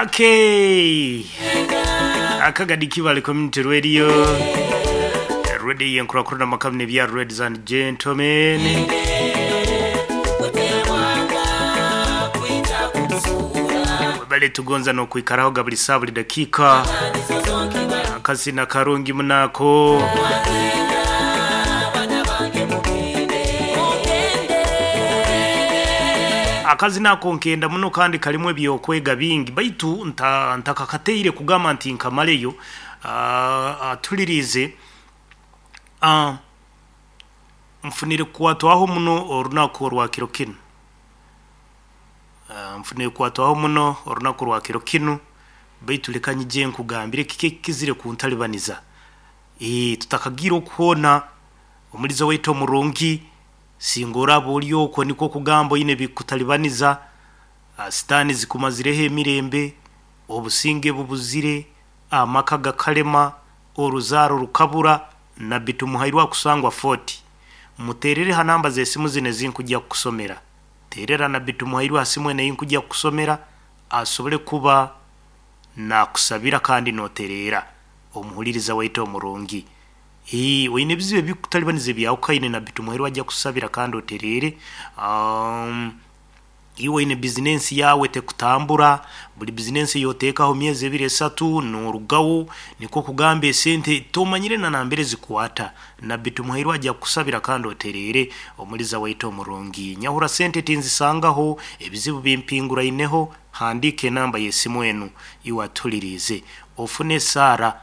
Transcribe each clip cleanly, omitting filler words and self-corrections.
Okay. Akagadi Kibale Community Radio. Radio yenkurakurana makamne bya ladies and gentlemen. Bale tugonza no kuikaraho buli saa buli dakika. Akazina karungi munako. Akazina ako nkenda muno kandi kalimu ebyokwega bingi baitu ntakakateire kugamba nti nkamaleyo. Atulirize nfunire kukwatwaho muno orunaku orwa kiro kinu. Nfunire kukwatwaho muno orunaku rwa kiro kinu baitu leka nyije nkugambire kiki kizire kuntalibaniza. Tutakagira okuhona omulizo waitu omurungi singora buli okwo niko kugamba ine bikutalibaniza. Sitani zikumazireho emirembe, obusinge bubuzire, amaka gakalema, oruzaro rukabura. Nabbi Tumuhairwa kusangwa 40. Muterere ha namba z'esimu zino ezinkujja kukusomera. Terera Nabbi Tumuhairwa ha simu eno eyinkujja kukusomera asobole kuba nakusabira kandi noterera omuhuliriza waitu omurungi. Oine ebizibu ebikutalibaniza ebyawukaine, Nabbi Tumuhairwa ajja kusabira kandi oterere. Iwe oine bizinensi yawe tekutambura, buli bizinensi eyotekaho myezi ebiri esatu norugawo, nikwo kugamba esente tomanyire na nambere zikwata. Nabbi Tumuhairwa ajja kukusabira kandi oterere omuliza waitu omurungi. Nyahura sente tinzisangaho, ebizibu bimpinguraineho, handika enamba y'esimu enu iwe atulirize. Ofune Sara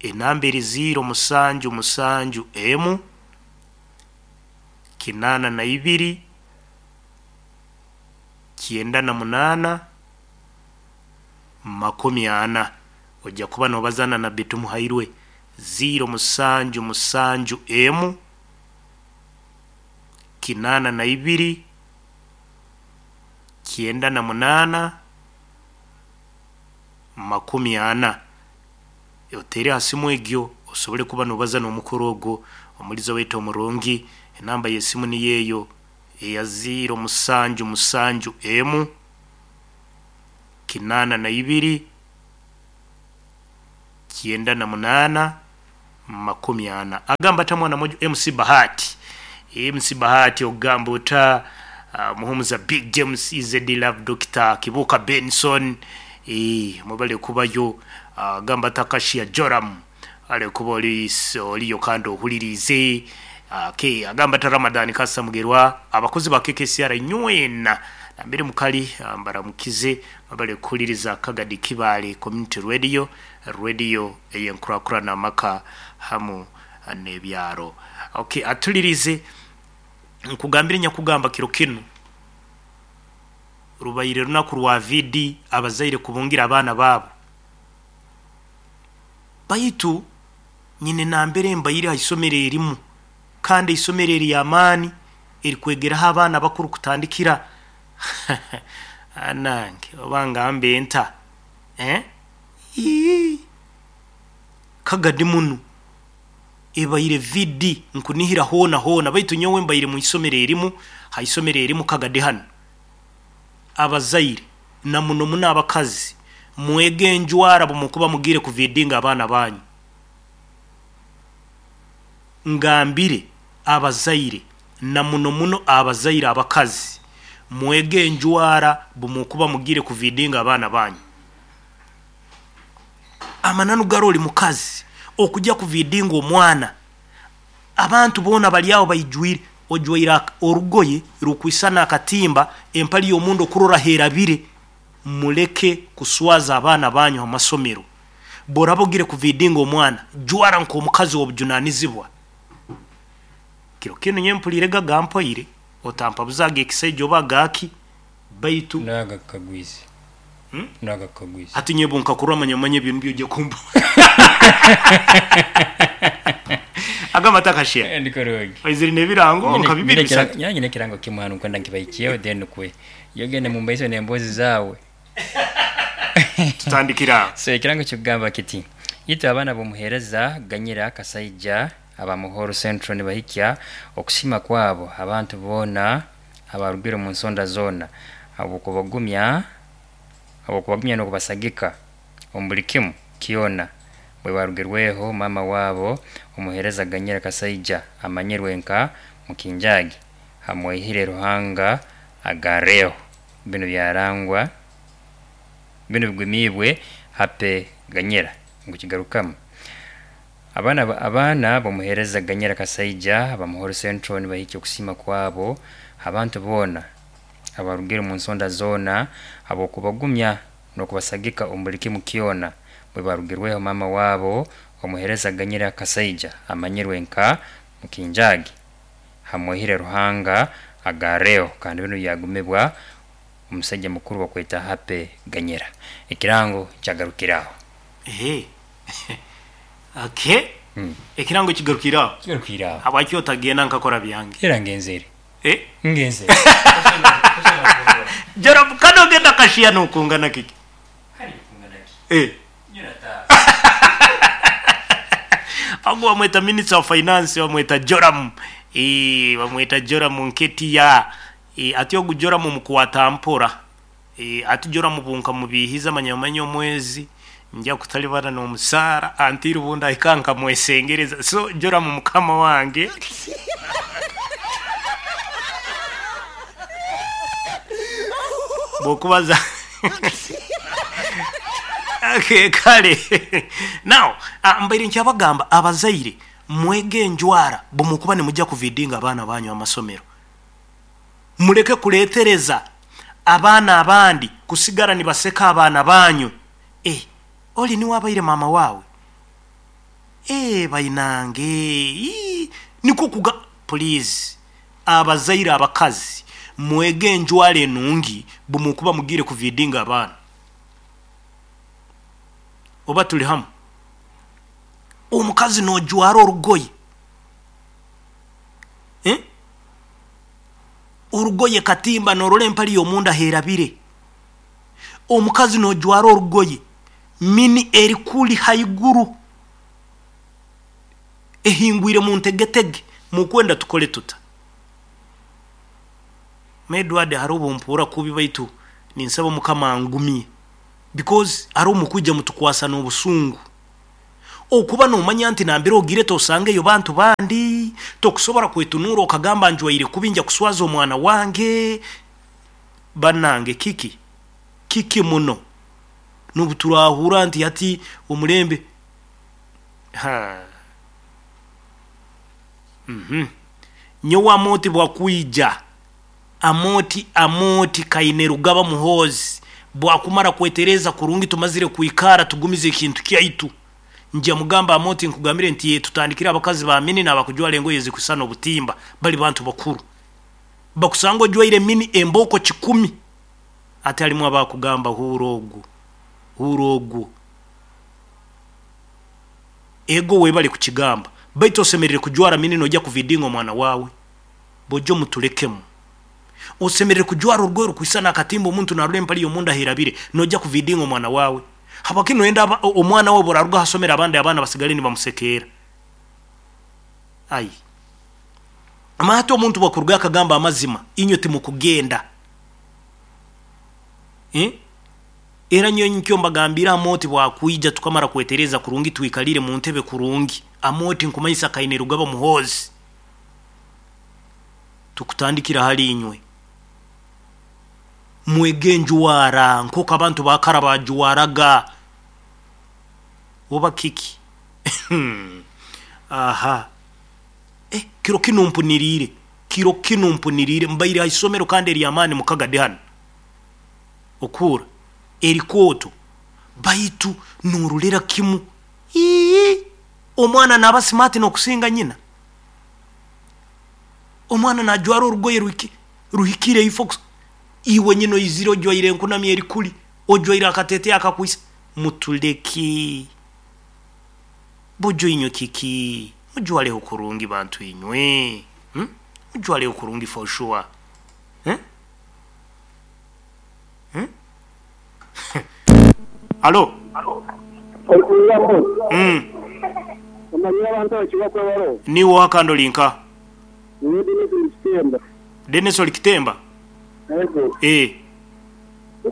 enamba eri 0 7 7 emu 82 98 40. Ojja kuba nobazana Nabbi Tumuhairwe 0 7 7 emu 82 98 40. Otere ha simu egyo osobole kuba nobaza n'omukuru ogwo omulizo waitu omurungi. Enamba y'esimu niyo eyo eya 0 7 7 emu 82 98 40. Agamba ata mwana moja MC Bahati. MC Bahati ogamba ota Muhumuza Big James EZD Love Doctor Kibuka Benson mubale kubayo. Agamba Takashia Joram ale kuba oliyo kandi ohulirize. Agamba ta Ramadan Kasa Mugerwa abakozi ba KKCR nywena nambere mukali mbaramukize mubale kuhuliriza Kagadi Kibale Community Radio, radio eyenkurakurana amaka hamu n'ebyaro. Okay, atulirize nkugambire nyakugamba kiro kinu rubaire runaku rwa VD abazaire kubungira abaana baabo. Baitu nyine nambere mbaire ha isomero erimu kandi isomero eri amaani erikwegeraho abaana bakuru kutandikira anange oba ngambe nta Kagadi muno ebaire VD nkunihira hona hona baitu nyowe mbaire mu isomero erimu ha isomero erimu Kagadi hano. Abazaire na muno muno abakazi mwege enjwara bumukuba mugire kuvidinga abaana banyu. Ngambire abazaire na muno muno abazaire abakazi mwege enjwara bumukuba mugire kuvidinga abaana banyu. Amananu garoli mukazi okujja kuvidinga omwana abantu bona bali aho bayijwire ojwaira orugoye rukwisana akatimba empali y'omundu okurora herabire. Muleke kuswaza abaana banyu amasomero. Borabogire kuvidinga omwana jwara nko omukazi w'obujunanizibwa. Kiro kino nyempulire gagampoire otampa buzaga ekisaijo oba gaki baitu naga kagwizi. Naga kagwizi. Ati nyebo nkakurwa manye bintu byo kumba. Agamba takashia. Ndikorogi. Iziri nebirango nkabibiri bisatu. Nyanyi kirango kimwe kwenda nkibaikiye then kwe. Yogende mu mbaiso nembozi zawe. Tutandikira. So ekirango kyogamba kiti yita abaana bomuhereza ganyira kasaija abamuhoro Central nibahikya okusima kwabo abantu bona abarugire mu nsonda zona abukubagumya Habw'okubagumya n'okubasagika omu buli kimu kyona bwe barugirweho maama waabo omuheereza Ganyira Kasaija amanyirwe nka Mukinjagi Hamwehire Ruhanga agarreho. Binu byarangwa binu bigumiibwe Happy Ganyira ngu kigarukamu. Abaana abaana b'omuheereza Ganyira Kasaija aba Muhoro Central nibahikya okusiima kwabo abantu boona abarugire omu nsonda zoona habw'okubagumya n'okubasagika omu buli kimu kyona bwe barugirweho maama waabo omuheereza Ganyira Kasaija amanyirwe nka Mukinjagi Hamwehire Ruhanga agarreho kandi binu byagumibwa omusaija mukuru bakweta Happy Ganyira. Ekirango kyagarukira aho. Ehe. Okay. Ekirango kigarukire aho. Kigarukire aho. Habwaki otagenda nkakora byange? Era ngenzere. Eh? Ngenzere. Joram kano ogenda kashiya nokungana kiki? Eh. Ogu bamweta Minister of Finance bamweta Joram. Eh, bamweta Joram Nketia. Eh, ati ogu Joram mukwata mpora. Eh, ati Joram bunkamubihiza manya manya omwezi nja kutalibana n'omusaara antiri obundi ahika nkamwesengereza. So Joram mukama wange. Bwokubaza Okay, kale now mbaire nkyabagamba abazaire mwege enjwara bwemukuba nimujja kuvidinga abaana banyu amasomero. Muleke kuletereza abaana abandi kusigara nibaseka abaana banyu. Eh, oli niwe abaire maama wawe? Eh, bainange. Ii, nikwo kuga please abazaire abakazi mwege enjwara enungi bwemukuba mugiire kuvidinga abaana. Oba tuli hamu? Omukazi nojwara orugoye. Eh? Orugoye katimba norora empali y'omunda herabire. Omukazi nojwara orugoye mini erikuli haiguru ehingwire mu ntegetege mukwenda tukole tuta. Edward hariho obumpura kubi baitu ninsaba Mukama angumye because hariho mukwija mutukwasa n'obusungu. Okuba nomanya nti nambere ogire tosangeyo bantu bandi, tokusobora kwetunura okagamba njwaire kubi nja kuswaza omwana wange. Banange kiki? Kiki muno? N'obu turahura nti hati omulembe. Ha. Nyowe Amooti bwakwija, Amooti Amooti kaine Rugaba Muhoozi bwakumara kwetereza kurungi tumazire kwikara tugumize ekintu kyaitu. Nja mugamba Amooti nkugambire nti ye tutandikire abakazi ba mini n'abakujwara engoye ezikusana obutimba bali bantu bakuru. Bakusanga ojwaire mini embooko 10 ate halimu abakugamba huura ogu, huura ogu. Ego webale kukigamba baitu osemerire kujwara mini nojya kuvidinga omwana wawe. Bojo mutulekemu. Osemerire kujwara orugoye rukwisana akatimba omuntu narora empali y'omunda herabire nojya kuvidinga omwana wawe. Habwaki noyenda omwana wawe buraruga hasomera abandi abaana basigale nibamusekeera. Ai. Amahati omuntu bwakuruga akagamba amazima inywe timukugenda. Eh? Era nyowe nikyo mbagambira Amooti bwakwija tukamara kwetereza kurungi twikalire mu ntebe kurungi. Amooti nkumanyisa kaine Rugaba Muhoozi. Tukutandikira hali inywe. Mwege enjwara nk'oku abantu bakara bajwaraga. Oba kiki? Aha. Kiro kinu mpuniriire. Kiro kinu mpuniriire. Mbaire ha isomero kandi ery'amaani mukagade hanu. Okuura erikooto baitu norolera kimu. Ii, omwana naba smart n'okusinga nyina. Omwana najwara orugoye ruhikire ifo iwe nyina oizire ojwaire enkunami erikuli, ojwaire akatete akakwisa. Mutuleki. Bojo inywe kiki? Mujwaleho kurungi bantu inywe. Mujwaleho kurungi for sure. Eh? Hmm? Alo? Okuyaho. Omanyire abantu abakibakwebaro. Niwe wakando linka. Niwe Dennis oli Kitemba. Dennis oli Kitemba? Ego. Eh.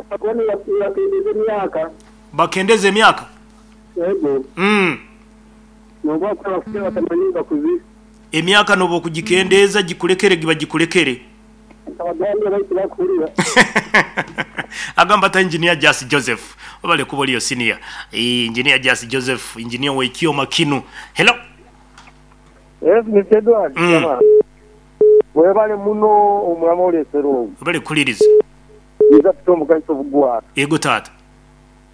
Bakendeza emyaka. Bakendeza emyaka? Yego. Nobu bakuba bakuzire batamanyire bakuzire. Emyaka nobu okugikendeeza gikulekere giba gikulekere. Nkabagambira baitu bakuhurira. Agamba ata Engineer Jas Joseph. Webale kuba oliyo senior. Engineer Jas Joseph, engineer w'ekyoma kinu. Hello. Yes Mister Edward Tamale webale muno omulama olesere ogwo. Webale kuhuliriza. Iza tute omugaiso obugwara. Yego taata.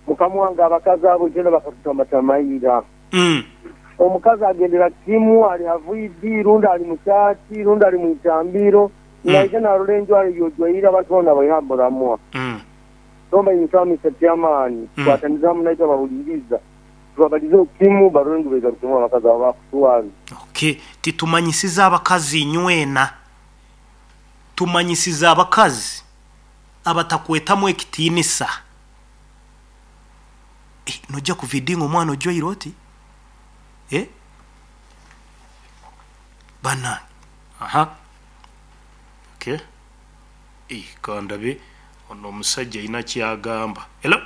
Mukama wange abakazi abo itwena bakatutamatama ira. Omukazi agendera kimu ali ha VD rundi ali mu church rundi ali mwitambiro naija narora enjwara eyojwaire abantu bona nabaiha muramwa. Nomba ninsaba Mister Chairman tukwatanize hamu naitwe abahuliriza tubabalizeho kimu barole ngu begarukemu abakazi abo bakutwaza. Okay, titumanyisize abakazi inywena, tumanyisize abakazi abatakwetamu ekitiinisa. Eh, noija kuvidinga omwana ojwaire oti? Eh? Banange. Aha. Okay. Eh, kandabe ono omusajja alina kyagamba. Hello?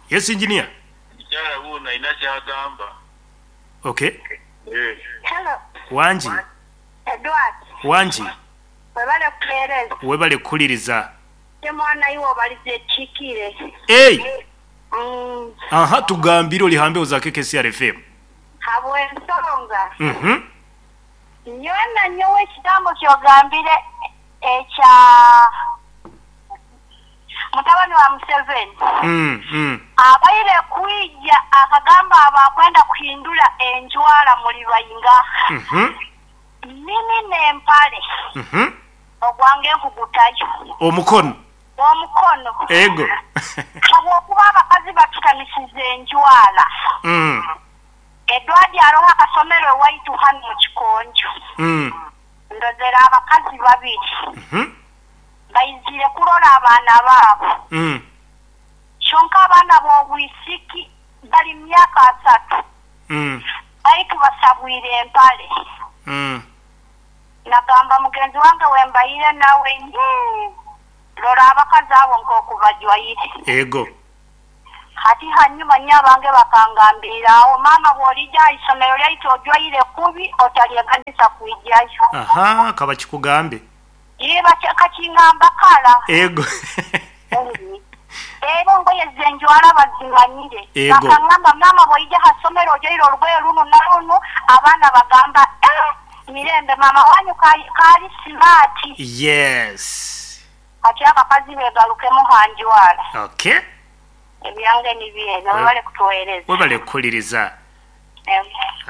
Yes, engineer. Mukyala wuuno alina kyagamba. Okay. Hello. Wangi. Edward. Wangi. Webale kuhereza. Webale kuhuliriza. Ye mwana iwe obalize ekihikire. Hey! Aha, tugambire oli ha mbeho za KKCR FM. Habw'ensonga. Nyowe na nyowe ekigambo ky'ogambire ekya mutabani wa Museveni abaire kwija akagamba abakwenda kuhindura enjwara muli baingaha? Mini n'empale ogwange nkugutayo. Omukono. Omukono. Ego. Habwokuba abakazi batutamisize enjwara. Edward aroho akasomero ewaitu hanu mu Kikonjo. Ndozere abakazi babiri. Baizire kurora abaana baabo. Kyonka abaana b'obwisiki bali mu myaka asatu. Baitu basabwire empale. Nagamba mugenzi wange wembaire nawe, yii, rora abakazi abo nk'oku bajwaire. Ego. Hati hanyuma nyo abange bakangambirira aho, maama bw'olija aha isomero lyaitu ojwaire kubi otalyeganisa kwijayo. Aha, kabakikugambe. Yii, bakingamba kara. Ego. Era engoye zenjwara bazimanyire. Ego. Bakangamba maama bw'oija aha somero ojwaire olugoye runu na runu, abaana bagamba, eh, mirembe maama wanyu kaali smart. Yes. Hati abakazi begarukemu ha njwara. Okay. Ebyange nibyo ebyo, webale kutuweereza. Webale kuhuliriza.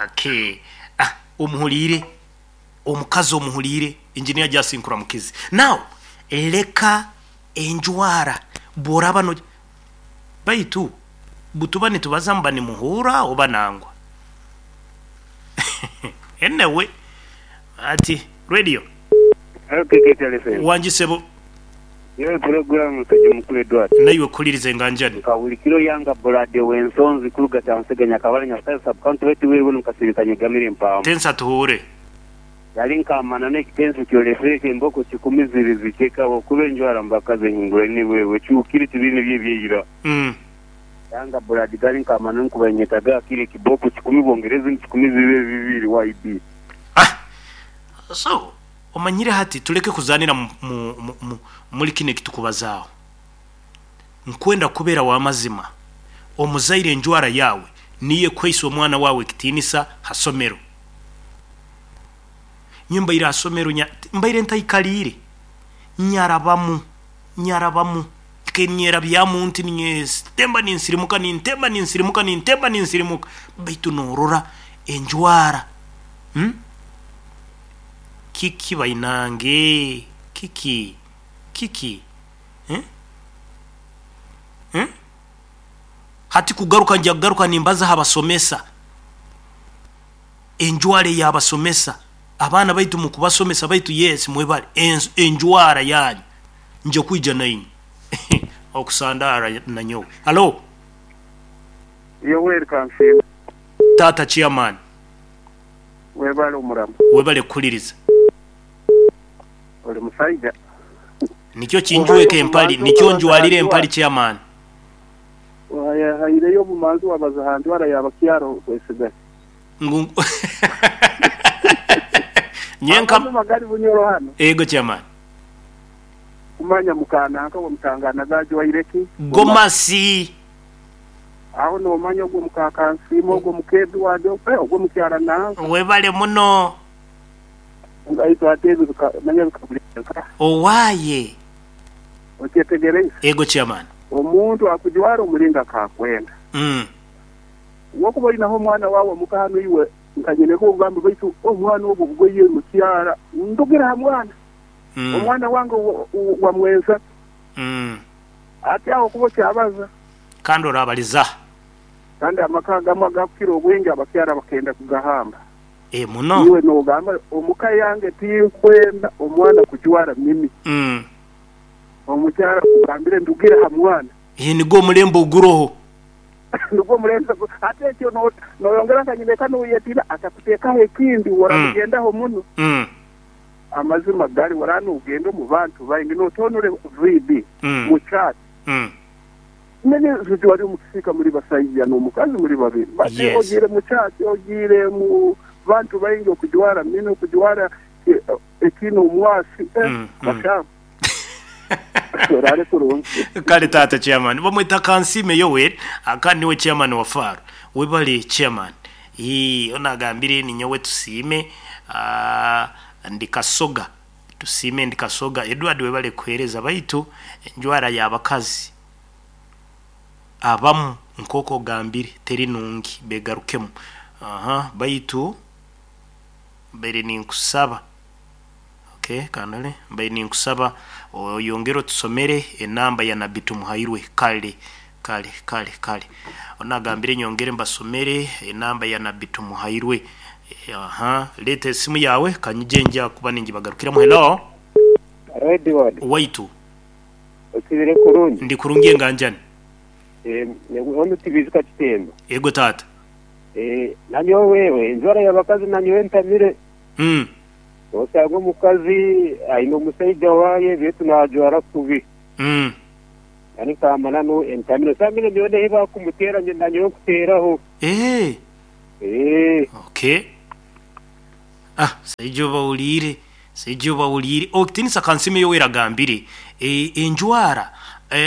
Okay. Ah, omuhuliire omukazi omuhuliire engineer Jasi nkuramukize. Now leka enjwara bworaba no baitu butuba nitubaza muba nimuhuura oba nangwa. Anyway, ati radio. Hello KKTR FM. Wangi sebo. Yewe pulogulaamu musajja mukulu Edward. Naiwe kuhuliriza enganjani. Nka buli kiro yanga Bulade w'ensonzi kuruga Kyansega Nyakabale Nyabusayo sub county baitu wewe nu Kasirika Nyegamire Mpamu. Tensa tuhuure. Yali nkamana n'ekitenso kyolesere emboko kikumi ziri zikyeka okuba enjwara mu bakazi ehinguraine wewe kyukire tibiri nibyo ebyeira. Yanga Buladi gali nkamana nkuba nyetaga akire ekiboko kikumi bwongere ezindi kikumi zibe bibiri YB. Ah! So omanyire hati tuleke kuzanira mu muli kinu ekitukubazaaho. Nkwenda kubeera w'amazima. Omuzaire enjwara yaawe niyo ekuhaisa omwana waawe ekitiinisa ha somero. Nyowe mbaire ha somero mbaire ntaikaliire, nyarabamu, nyarabamu, kenyerabyamu nti ninyetemba ninsirimuka, nintemba ninsirimuka, nintemba ninsirimuka, baitu norora enjwara. Kiki bainange? Kiki? Kiki? Hati kugaruka nja kugaruka nimbaza ha basomesa. Enjwara ey'abasomesa. Abaana baitu mukubasomesa baitu yes mwebale enjwara yanyu. Nja kwija nainywe. Okusandara nanyowe. Halo. Yoweri Kansiime. Taata chairman. Webale omurama. Webale kuhuliriza. Oli musaija. Nikyo kinjweka empali, nikyo njwalire empali chairman. Wahaireyo obumanzi wabaza ha njwara y'abakyara okwesiga. Ngu nyenka Amazima gari Bunyoro hano. Ego chairman. Kumanya mukananka wamutangana gajwaire ki? Gomasi. Aho nomanya ogwo mukakansiima ogwo mukeduwadi ogwo mukyara nanka. Webale muno. Ngaitu ate ebyo manya bikabuleka. Owaye. Okyetegereize. Ego chairman. Omuntu akujwara omulinga akakwenda. Wokuba olinaho omwana wawe omuka hano iwe nkanyineko ogamba baitu omwana ogwo bugoye mukyara ndugira ha mwana. Omwana wange wamwenza. Ate aho kuba kyabaza. Kandi orabaliza. Kandi amaka agamu agakukira obwingi abakyara bakenda kugahamba. Muno. Iwe nogamba omuka yange tinkwenda omwana kujwara mimi. Omukyara kugambire ndugire ha mwana. Nigwo omulembe oguroho. Nigwo omulembe ate ekyo noyongera nkanyineka noyetina akakutekaho ekindi waramugendaho muno. Amazima gari warana ugenda omu bantu baingi notonore VD mu chat. Nene zuju wari omukisika muri basajja n'omukazi muri babiri. Bate ogire mu chat ogire mu bantu baingi okujwara mino okujwara ekino omwasi bashamba. Kale tata chairman bamwita Kansime Yoweri akandi niwe chairman wa FARU. Webale chairman. Onagambire ni nyowe tusiime ndikasoga tusiime ndikasoga Edward webale kuhereza baitu enjwara y'abakazi abamu nkoko gambire teri nungi begarukemu. Baitu mbere ninkusaba. Okay, kanale mbaye ninkusaba oyongero tusomere enamba ya Nabbi Tumuhairwe. Kale kale kale kale onagambire nyongere mbasomere enamba ya Nabbi Tumuhairwe. Leta esimu yawe kanyije nja kuba ninji bagarukira. Hello Edward waitu osibire kurungi ndi kurungi enganjani ono tibizika kitemba. Ego tata. Nanyo wewe enjwara y'abakazi nanyo entamire. Osanga omukazi aine omusaija waye betu najwara kubi. Yani kamana no entamire samire niyo eba kumutera nanyo kuteraho. Okay. Saijo bawulire saijo bawulire okitinisa Kansime Yoweri agambire enjwara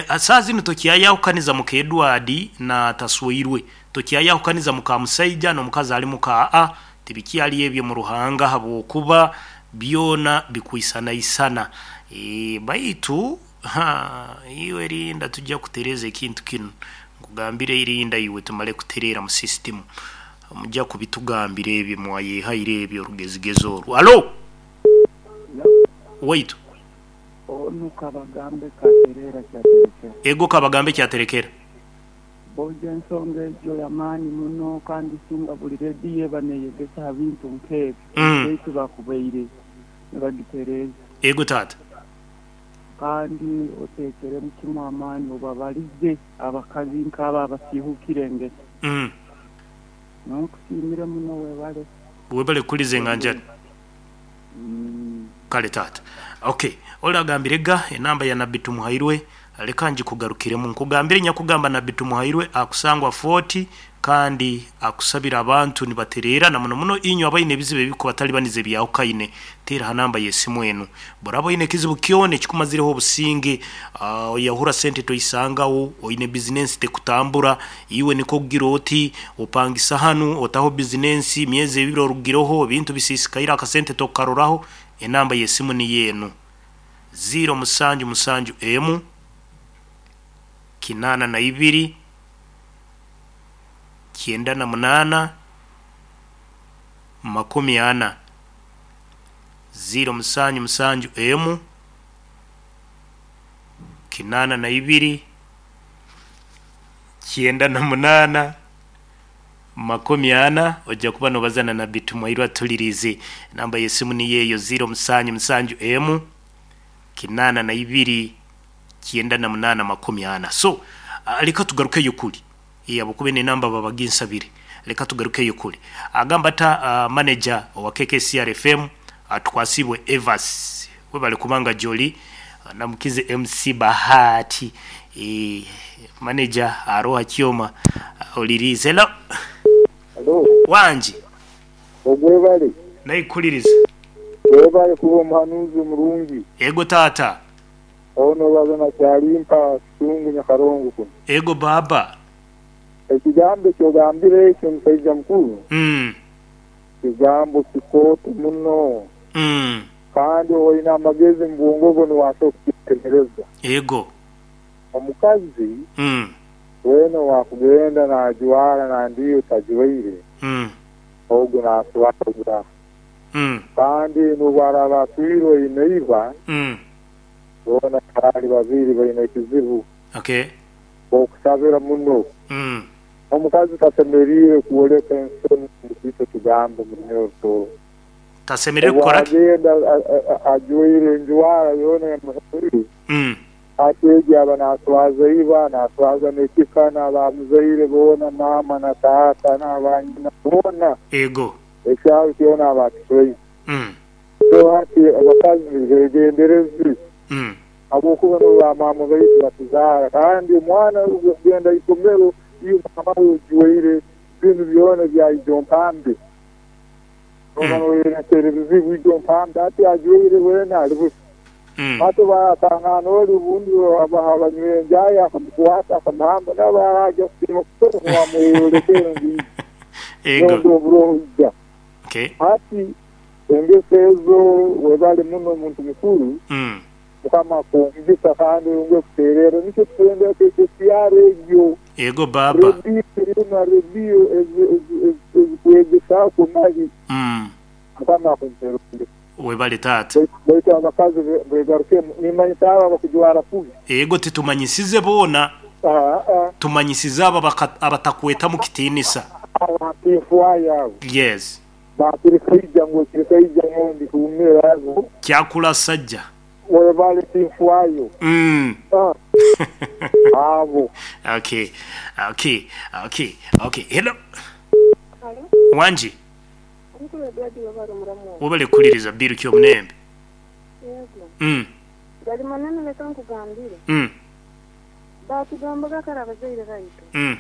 asazi tokyayahukaniza muka Edward na taswoirwe tokyayahukaniza muka musaija n'omukazi ali muka a tibikyali ebyo mu ruhanga habwokuba byona bikwisanaisana. Baitu iwe rinda tujja kutereza ekintu kinu nkugambire irinda iwe tumale kuterera mu system mujja kubitugambira ebyo mwayehaire ebyo orugezigezo orwo. Alo wait onu kabagambe katerera kyaterekera. Ego kabagambe kyaterekera. Boje ensonga ejo yamaani muno kandi singa buli rediyo baneyegesa bintu nkebyo. Baitu bakubaire nibagitereza. Ego tata. Kandi otekere mukimu amaani obabalize abakazi nk'aba abasihukire engeso. Nkusiimire muno webale. Webale kuliza enganjani. Kale tata. Okay, olagambire ga enamba ya Nabbi Tumuhairwe leka njikugarukiremu nkugambire nyakugamba Nabbi Tumuhairwe akusangwa 40 kandi akusabira abantu nibaterera na muno muno inyo abaine ebizibu ebiko batalibanize byawukaine tera hanamba yesimu enu borabo ine kizibu kyone kikumazireho obusinge yahura sente toisangawo oine business tekutambura iwe niko kugira oti opangisa hanu otaho business myezi ebiro orugiroho bintu bisisikaira akasente tokaroraho enamba yesimu ni yenu 077 M 82 98 40 077 M 82 98 40 ojja kuba nobazana na Nabbi Tumuhairwe atulirize namba yesimu ni yeyo 077 M 82 98 40. So leka tugarukeyo kuli yabukube ne namba babaginsabire leka tugarukeyo kuli agamba ta manager wa KKCR FM atukwasibwe Evas webale kubanga Joli. Namukize MC Bahati, manager aroha kyoma olirize. Hello. Hello. Wanji. Ogwebale. Naikuliriza. Webale kuba omuhanuzi omurungi. Ego tata. Ono bazana kyalimpa sungu nyakarongo kuno. Ego baba. Ekigambo kyogambire ekyo musajja mukulu. Kigambo kikooto muno. Kandi olina amagezi mu bwongo bwo niwaasa okukitegereza. Ego. Omukazi wena wakugenda najwara nandiyo tajwaire. Ogu naswaza. Kandi nubwaraba atwirwe ineiba. Bona bali babiri baine ekizibu. Okay. Okusabira muno. Omukazi tasemerire kuoleka ensoni mukito kigambo munyoto. Tasemerire kukora ki? Agenda ajwaire enjwara yona yamuhiri. Akeegi aba naswaza iba, naswaza n'ekika n'abamuzaire boona, maama na taata n'abanyina boona. Ego. Ekyaro kyona aba akiswaire. So hati abakazi begenderezi. Habwokuba nibo bamaama baitu batuzaara, kandi omwana ogenda isomero iyo mama we ojwaire bintu byona bya ijo mpambe. Oba noyeretera ebizibu ijo mpambe ati ajwaire wena ali busa. Hati batangana oli obundi abanywire enjayi akamukwata akamuhamba nabo araja kusiima kusoma wamweyorekere ngiijo. Ego. Oburoho ija. Okay. Hati engeso ezo webale muno omuntu mukuru. Mukama akuhumugisa kandi oyongere kutererra nikyo tukwenda ekyaro egyo. Ego baba. Rediyo erina rediyo ezikwegesaako mali. Mukama akumpere. Webale tata. Baitu abakazi begarukemu nimanyisa abo abakujwara kubi. Ego titumanyisize boona. Tumanyisize abo abatakweta mu kitiinisa. Abatinfwa yabo. Yes. Bakirikaija ngu kirikaija ngondi kumira abo. Kyakula sajja. Webale tinfwayo. Abo. Okay. Okay. Okay. Okay. Hello. Hello. Wanji. Webale kuliriza biru kyo munembe. Yego. Gali manene leka nkugambire. Batugambaga kare abazaire baitu.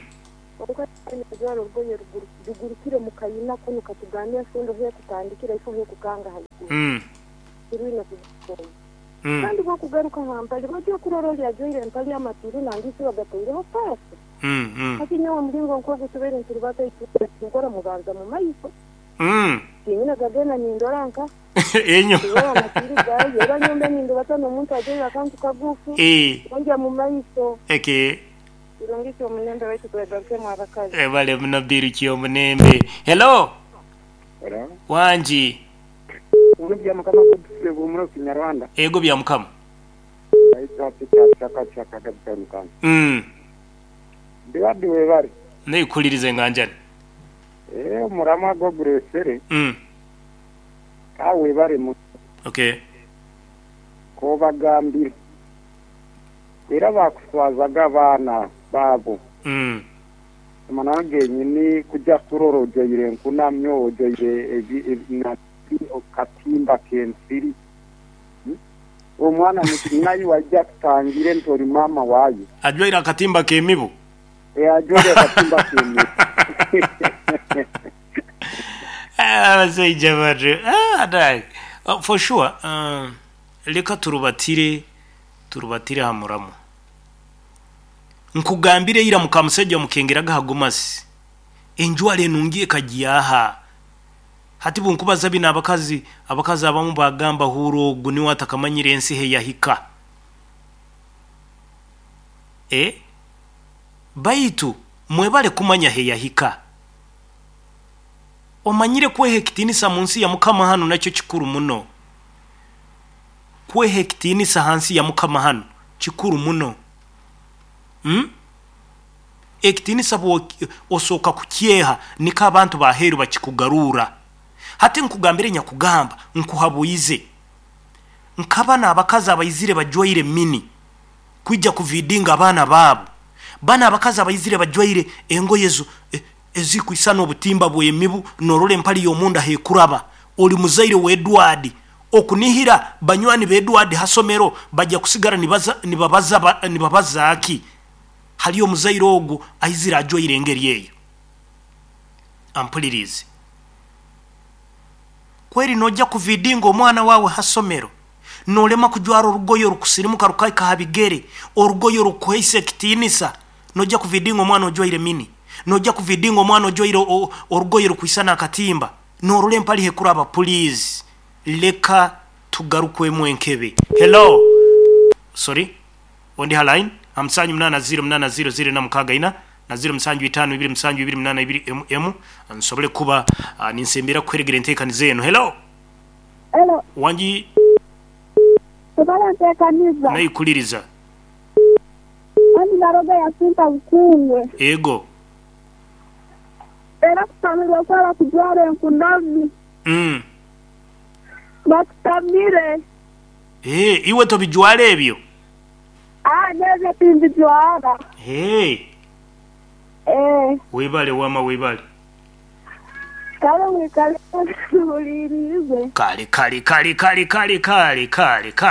Okajwara orugoye rugurukire mu kayina kunu katugambira enfundo hekutandikira ifo hekukanga haiguru. Kirwine kugikora. Kandi bwokugaruka nka mpali bajya kurora oli ajwaire empali amaturu nangisi bagataireho paasi. Hati nyowe omulingo nk'ogu tubeire nturubata nkora mubanza mu maiso. Tinyina gagenda nindora nka enyo. Amaturu gayo era nyombe nindubata n'omuntu ajwaire akantu kagufu. Onja mu maiso. Eke. Kirungi ky'omunembe waitu twegarukemu abakazi. Ebale muno biru ky'omunembe. Hello. Hello. Wanji. Bya mukama kubusibu muri Kinyarwanda. Ego bya mukama. Baita chaka chaka kabisa mukama. Ndiwadi webari. Nekulirize nganjani. Murama go gresere. Ka webari mu. Okay. Ko bagambire. Era bakuswazaga abana babo. Manange nyini kujja kuroro ojoire nkunamyo ojoire na katimba kensiri. Omwana nayi wajja kutangire ntori mama wayo. Ajwaire akatimba kemibu. Ajwaire akatimba kemibu. Abasajja batu. Dai. For sure. Leka turubatire hamuramu. Nkugambire ira mukamusajja mukengeraga hagumasi. Enjwale enungi ekagiyaha. Hati bunkubaza bino abakazi abamu bagamba huro ogu niwe atakamanyire ensi he yahika. Baitu mwebale kumanya he yahika. Omanyire kweha ekitinisa mu nsi ya mukama hano nakyo kikuru muno. Kweha ekitinisa hansi ya mukama hano kikuru muno. Ekitinisa bwo osooka kukyeha niko abantu baheru bakikugarura. Hati nkugambire nyakugamba nkuhabuize. Nkabana abakazi abaizire bajwaire mini kwijja kuvidinga abaana baabo. Bana abakazi abaizire bajwaire engoye ezikwisana obutimba bw'emibu norole empali y'omunda hekuraba. Oli muzaire wa Edward Okunihira banywani ba Edward hasomero bajja kusigara nibaza nibabaza nibabaza ki hali omuzaire ogu aizire ajwaire engeri eyo. Ampulirize. Kweri nojja kuvidinga omwana wawe hasomero nolema kujwara orugoye orukusirimuka rukaika ha bigere, orugoye orukuheisa ekitiinisa, nojja kuvidinga omwana ojwaire mini, nojja kuvidinga omwana ojwaire orugoye rukwisana akatimba, norora empali hekuraba. Please, leka tugarukwemu enkebe. Hello, sorry, ondi ha line. 78 0 8 0 0 4 6 4 na 0 7 5 2 7 2 8 2 m nsobole kuba ninsembera kuheregera enteekaniza eno. Hello. Hello. Wangi. Tubale nteekaniza. Naikuliriza. Andi Naroga Yasinta Bukungwe. Ego. Era kutamirwa kwaba kujwara enkunami. Bakutamire. Ee, iwe tobijwara ebyo? Aa, nyowe timbijwara. Ee. Ee. Webale wama, webale. Kale mwikale muwulirize. Kale kale kale kale kale kale kale kale.